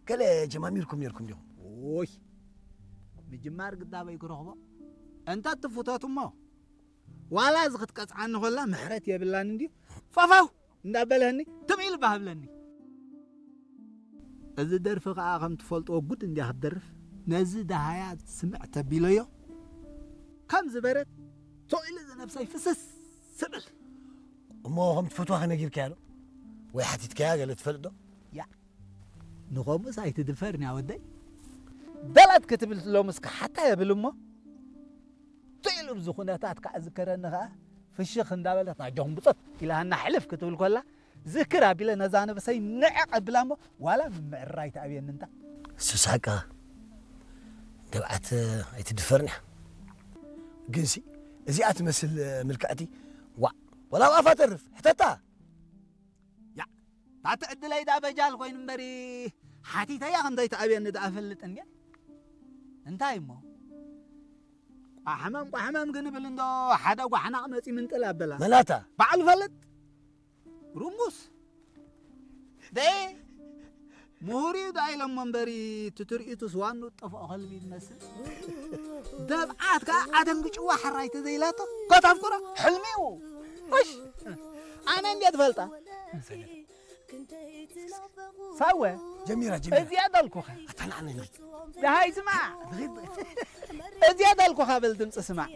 ገለ ጀማሚርኩም ነርኩም ዲኹም? ኦይ፣ ምጅማር ግዳበይ ክረኽቦ። እንተ ትፍቶት እሞ፣ ዋላ እዚ ክትቀጽዓኒ ኾላ ምሕረት የብላን እንድዩ። ፋፋው እንዳበለኒ ትም ኢሉ ባህብለኒ። እዚ ደርፊ ከኣ ከም ትፈልጥዎ ጉድ እንድያ ክትደርፍ። ነዚ ደሃያ ስምዕ ተቢለዮ፣ ከም ዝበረት ቶኢሉ ዝነብሰይ ፍስስ ስብል። እሞ ከም ትፈትዋ ከነጊርካያ ዶ? ወይ ሓቲትካያ ገለ ትፈልጥ ዶ? ያ፣ ንኸምኡስ ኣይትድፈርን እያ ወደይ። ደላት ክትብል ሎምስ ክሓታ የብል እሞ፣ ትኢሉ ብዚ ኩነታት ከኣ ዝከረኒ ከኣ ፍሽኽ እንዳበለት ናጆኹም ብጾት ኢላሃና ሕልፍ ክትብል ኮላ፣ ዝክር ኣቢለ ነዛ ነበሰይ ንዕቕ ኣብላ እሞ፣ ዋላ ምምዕራይ ትኣብየኒ እንታ። እሱ ሳቃ ደብዓት ኣይትድፈርን እያ። ግንሲ እዚኣ ትመስል ምልክዕቲ፣ ዋዕ፣ ወላ ኣብ ኣፋ ተርፍ፣ ሕተታ። ያ፣ ታቲ ዕድለይ ዳ በጃል ኮይኑ እምበሪ፣ ሓቲተያ ከም ዘይትኣብየኒ ዳ እፈልጥ እንድየ። እንታይ እሞ? ቋሕመም ቋሕመም ግን ብል እንዶ፣ ሓደ ጓሕናቕ መጺ ምንጥል ኣበላ። መናታ። ባዕሉ ፈልጥ። ሩሙስ። ደ ምሁር እዩ ዳ ኢሎሞ እምበሪ፣ እቲ ትርኢቱስ ዋኑ ጠፍኦ ከልቢ ይመስል። ደብዓት ከኣ ኣደንግጭዋ ሕራይ ተዘይላቶ፣ ኮታፍ ኩራ ሕልሚኡ። እሽ፣ ኣነ እንዴት ፈልጣ? ሳወ፣ ጀሚራ፣ ጀሚራ። እዚኣ ዳልኩኻ። ኣታ ንዓና ንኺድ። ደሃይ ስማዕ። ንኺድ። እዚኣ ዳልኩኻ በል ድምፂ ስማዕ።